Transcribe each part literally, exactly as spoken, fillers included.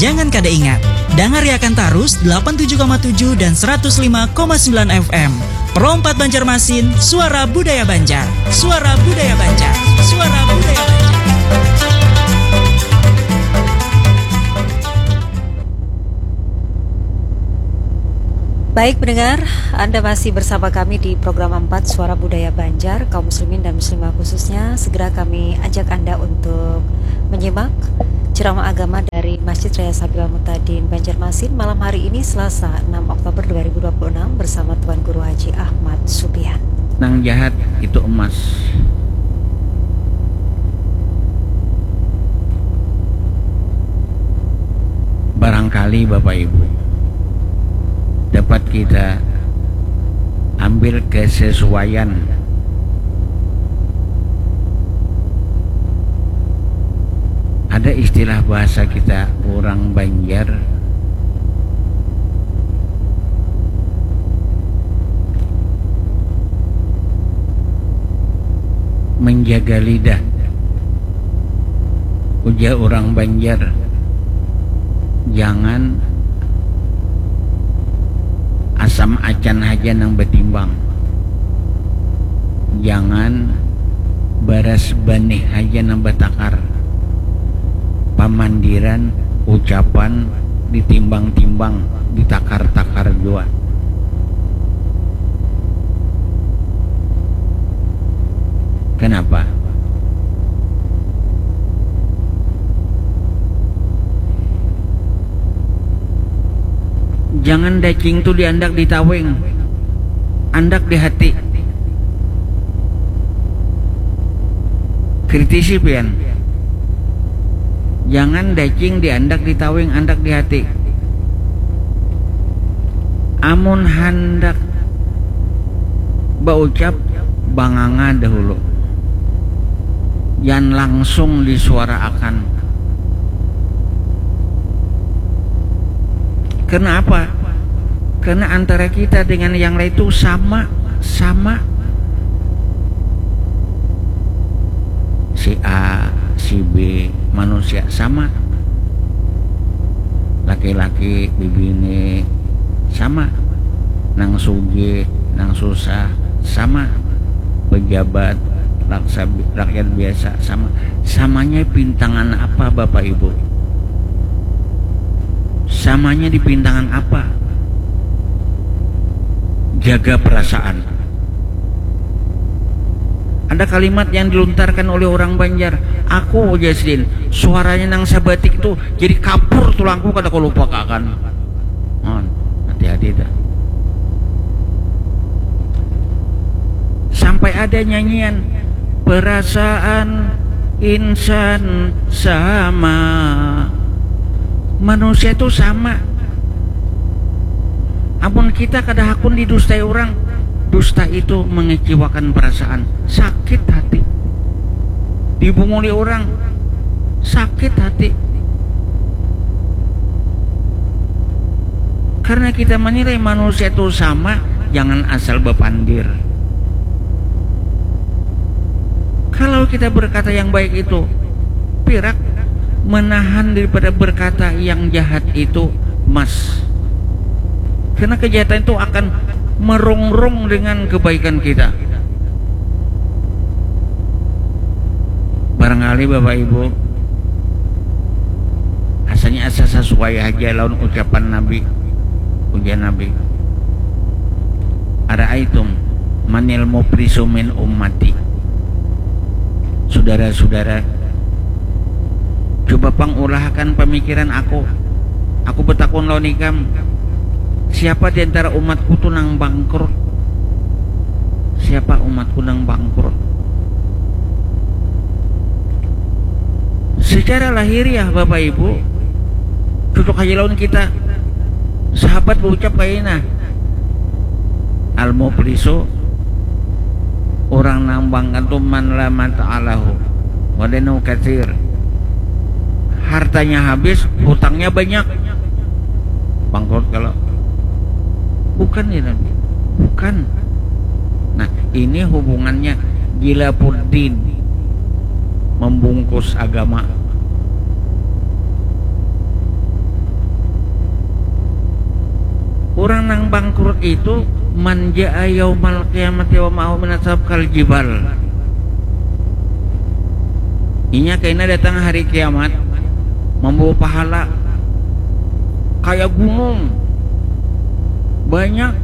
Jangan kada ingat, dangariakan tarus delapan tujuh koma tujuh dan seratus lima koma sembilan F M. Pro empat Banjarmasin, suara budaya Banjar. Suara budaya Banjar. Suara budaya Banjar. Baik pendengar, Anda masih bersama kami di program empat Suara Budaya Banjar, kaum muslimin dan muslimah khususnya. Segera kami ajak Anda untuk menyimak ceramah agama dari Masjid Raya Sabil Mutadin Banjarmasin malam hari ini, Selasa, enam Oktober dua ribu dua puluh enam, bersama Tuan Guru Haji Ahmad Supian. Nang jahat itu emas. Barangkali Bapak Ibu dapat kita ambil kesesuaian. Ada istilah bahasa kita orang Banjar, menjaga lidah. Ujar orang Banjar, jangan asam acan haja nang batimbang, jangan baras banih haja nang batakar. Pamandiran, ucapan ditimbang-timbang, ditakar-takar jua. Kenapa? Jangan dacing tu diandak di tawing, andak di hati. Kritisi pian. Jangan dacing diandak di tawing, andak di hati. Amun handak baucap, banganga dahulu. Jan langsung disuaraakan. Karena apa? Karena antara kita dengan yang lain itu sama, sama. Si A, si B, manusia sama. Laki-laki, bibini sama. Nang sugih, nang susah sama. Pejabat, rakyat biasa sama. Samanya pintangan apa Bapak Ibu? Samanya di pintangan apa? Jaga perasaan. Ada kalimat yang diluntarkan oleh orang Banjar, aku ujar sidin, suaranya nang sabatik tu jadi kapur tulangku kada kalupa kaakan. Hati-hati dah. Sampai ada nyanyian, perasaan insan sama. Manusia itu sama. Amun kita kada hakun didustai orang, dusta itu mengecewakan perasaan, sakit hati. Dibunguli orang, sakit hati. Karena kita menilai manusia itu sama, jangan asal bapandir. Kalau kita berkata yang baik itu pirak, menahan daripada berkata yang jahat itu mas. Karena kejahatan itu akan merongrong dengan kebaikan kita. Barangkali Bapak Ibu, asanya asa sesuai haja lawan ucapan Nabi, ujar Nabi, "Ara'aitum manil muflisu min ummati." Sudara-sudara, coba pang ulahakan pamikiran aku. Aku betakun lawan ikam, siapa di antara umatku tu nang bangkrut? Siapa umatku nang bangkrut? Secara lahiriah Bapak Ibu, cocok haja lawan kita. Sahabat baucap kaya ini nah, al-muflisu, urang nang bangkrut tu man la mata'alahu wa dainu katsir. Hartanya habis, hutangnya banyak. Bangkrut kalau bukan ya Nabi, bukan. Nah, ini hubungannya gila pudin membungkus agama. bangkrut itu, man jaa yaumal qiyamati wa ma'ahu minat sab kal jibal. Inya kaina datang hari kiamat membawa pahala kaya gunung, banyak,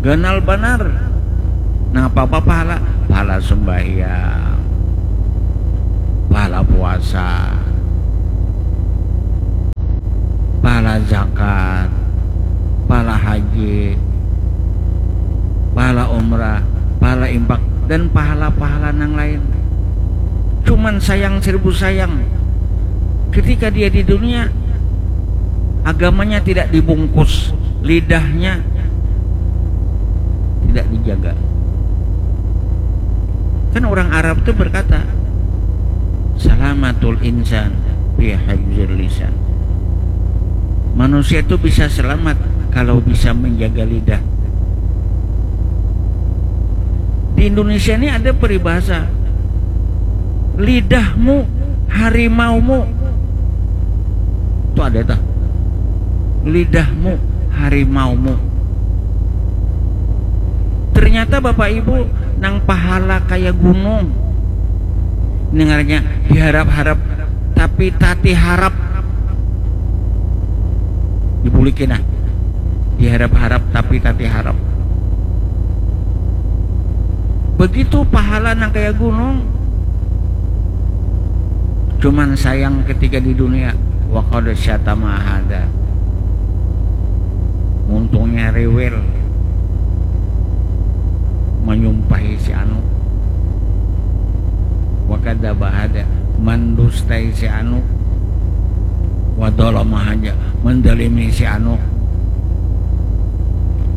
ganal banar. Nah, apa-apa pahala, pahala sembahyang, pahala puasa, pahala zakat, pahala haji, pahala umrah, pahala impak, dan pahala-pahala nang lain. Cuman sayang seribu sayang, ketika dia di dunia, agamanya tidak dibungkus, lidahnya tidak dijaga. Kan orang Arab tuh berkata, "Salamatul insan fi hifzil lisan." Manusia itu bisa selamat kalau bisa menjaga lidah. Di Indonesia ini ada peribahasa, "Lidahmu harimaumu." Itu ada tuh. "Lidahmu harimaumu." Ternyata Bapak Ibu, nang pahala kaya gunung, dengarnya diharap-harap tapi tati harap. Dibulikin ah. Diharap-harap tapi tati harap. Begitu pahala nang kaya gunung. Cuman sayang ketika di dunia, wa qad syatama hada. Untungnya rewel, menyumpahi si anu. Wa kadzaba hada, mendustai si anu. Wa dzalama hada, mendalimi si anu.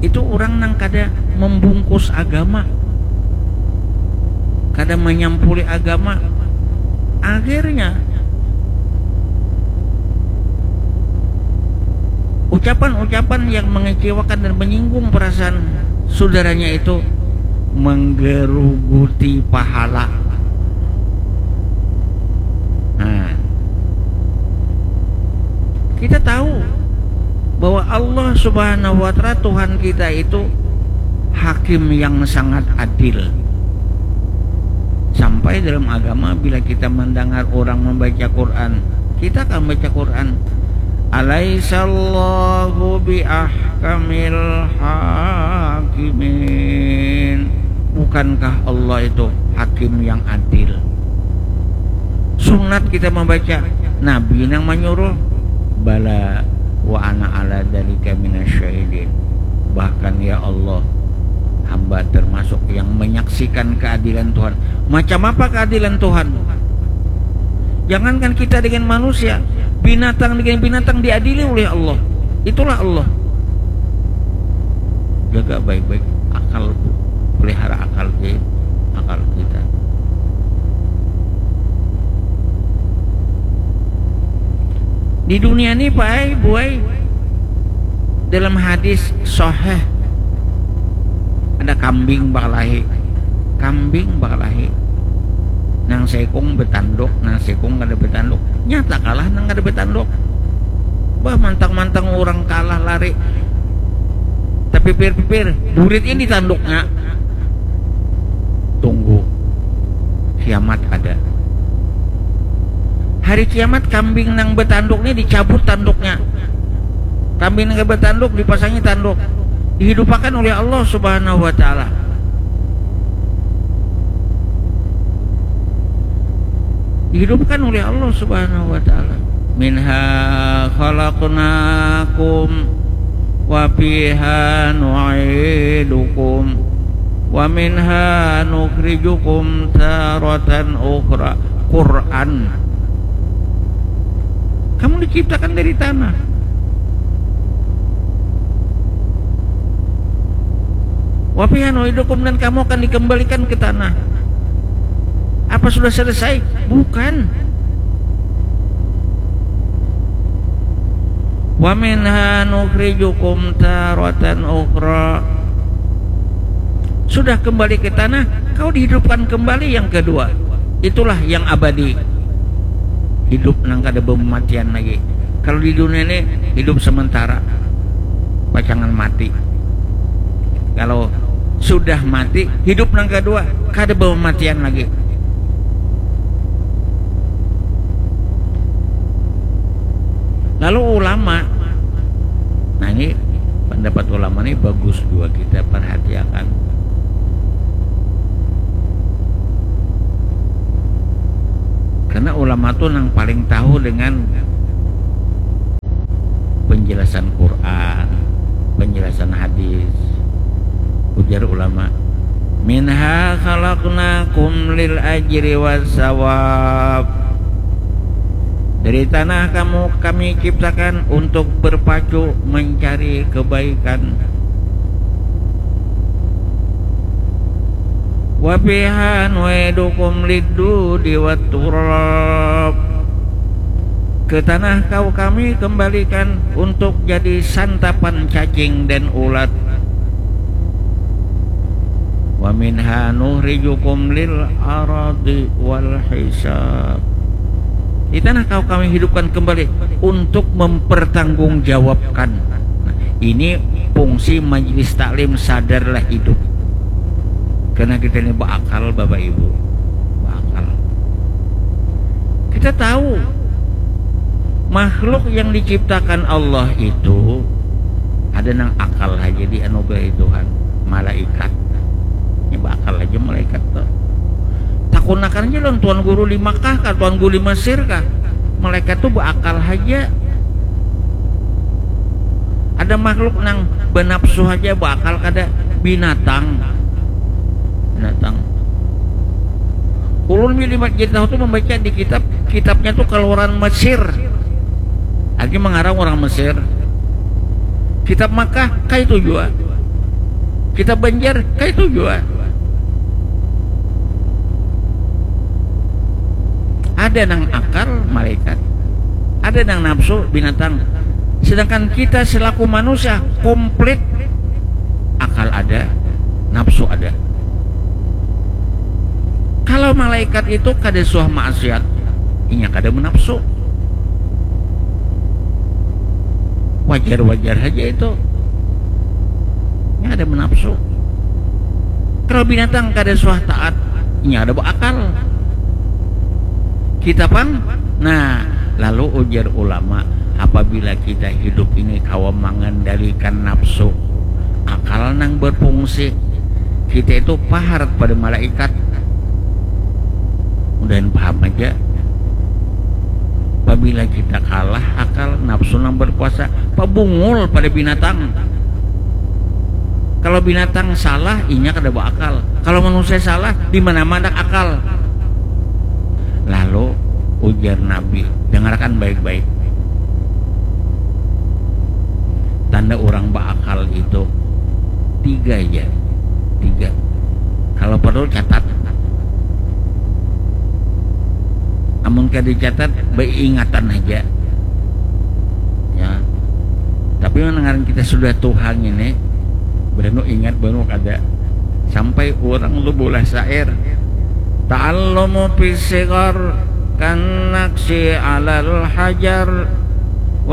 Itu orang nang kada membungkus agama, kada menyampuli agama. Akhirnya, ucapan-ucapan yang mengecewakan dan menyinggung perasaan saudaranya itu menggeruguti pahala. Nah, kita tahu bahwa Allah Subhanahu wa Ta'ala, Tuhan kita itu, hakim yang sangat adil. Sampai dalam agama, bila kita mendengar orang membaca Quran, kita akan baca Quran, "Alaisallahu bi ahkamil hakimin." Bukankah Allah itu hakim yang adil? Sunat kita membaca, Nabi nang menyuruh. Bala wa ana ala dzalika minasyahidin. Bahkan, ya Allah, hamba termasuk yang menyaksikan keadilan Tuhan. Macam apa keadilan Tuhan? Jangankan kita dengan manusia, binatang dengan binatang diadili oleh Allah. Itulah Allah. Jaga baik-baik akal, pelihara akal ki-, akal kita. Di dunia ni, Pak ai, Bu ai, dalam hadis sahih, ada kambing bakalahi. Kambing bakalahi. Nang seikung betanduk, nang seikung kada betanduk. Nyata kalah nang kada betanduk. Bah, mantang-mantang urang kalah lari. Tapipir-pipir, burit ini tanduknya. Tunggu. Kiamat ada. Hari kiamat, kambing nang betanduk ni dicabut tanduknya. Kambing nang betanduk dipasangi tanduk. Dihidupakan oleh Allah Subhanahu wa Ta'ala. Dihidupkan oleh Allah Subhanahu wa Ta'ala. "Minha khalaqnakum wa fiha nu'idukum wa minha nukhrijukum taratan ukhra." Quran. Kamu diciptakan dari tanah. "Wa fiha nu'idukum," dan kamu akan dikembalikan ke tanah. Apa sudah selesai? Bukan. "Wa minha nukhrijukum taratan ukhra." Sudah kembali ke tanah, kau dihidupkan kembali yang kedua. Itulah yang abadi. Hidup nang kada bematian lagi. Kalau di dunia ini, hidup sementara. Pacangan mati. Kalau sudah mati, hidup nang kedua, kada pematian lagi. Lalu ulama, nah ini pendapat ulama ini bagus juga kita perhatiakan. Karena ulama tuh nang paling tahu dengan penjelasan Quran, penjelasan hadis. Ujar ulama, "Minha khalaqnakum lil ajri was sawab." Dari tanah kamu kami ciptakan untuk berpacu mencari kebaikan. "Wa fiha nu'idukum lid dudi wat turab." Ke tanah kau kami kembalikan untuk jadi santapan cacing dan ulat. "Wa minha nukhrijukum lil ardi wal hisab." Di tanah kau kami hidupkan kembali untuk mempertanggungjawabkan. Nah, ini fungsi majelis taklim, sadarlah hidup. Karena kita ini berakal, Bapak Ibu. Berakal. Kita tahu makhluk yang diciptakan Allah itu ada nang akal aja dianugerahi Tuhan, malaikat. Ini berakal aja malaikat tuh. Takunakan aja lawan Tuan Guru di Makkah kah, Tuan Guru di Mesir kah. Malaikat tuh berakal aja. Ada makhluk nang benapsu aja, berakal kada, binatang. Binatang. Ulun bila jadi tahu tuh membaca di kitab, kitabnya tuh keluaran Mesir. Lagi mengarang orang Mesir. Kitab Makkah, kayak itu juga. Kitab Banjar, kayak itu juga. Ada nang akal, malaikat. Ada nang nafsu, binatang. Sedangkan kita selaku manusia, komplit. Akal ada, nafsu ada. Kalau malaikat itu kada suah maksiat, inya kada menafsu. Wajar-wajar saja itu. Inya kada menafsu. Kalau binatang kada suah taat, inya kada berakal. Kita pang, nah, lalu ujar ulama, apabila kita hidup ini kawa mengendalikan nafsu, akal nang berfungsi, kita itu paharat pada malaikat. Mudahan paham aja. Apabila kita kalah, akal nafsu nang berkuasa, pabungul pada binatang. Kalau binatang salah, inya kada berakal. Kalau manusia salah, di mana-mana akal. Lalu ujar Nabi, dengarkan baik-baik. Tanda orang berakal itu tiga aja. Tiga. Kalau perlu catat. Amun kada dicatat, beingatan aja. Ya. Tapi mendengar kita sudah tuha ini, banu ingat, banu kada. Sampai orang lu bolah syair. Ta'allumu fis sighar kan naqshi alal hajar.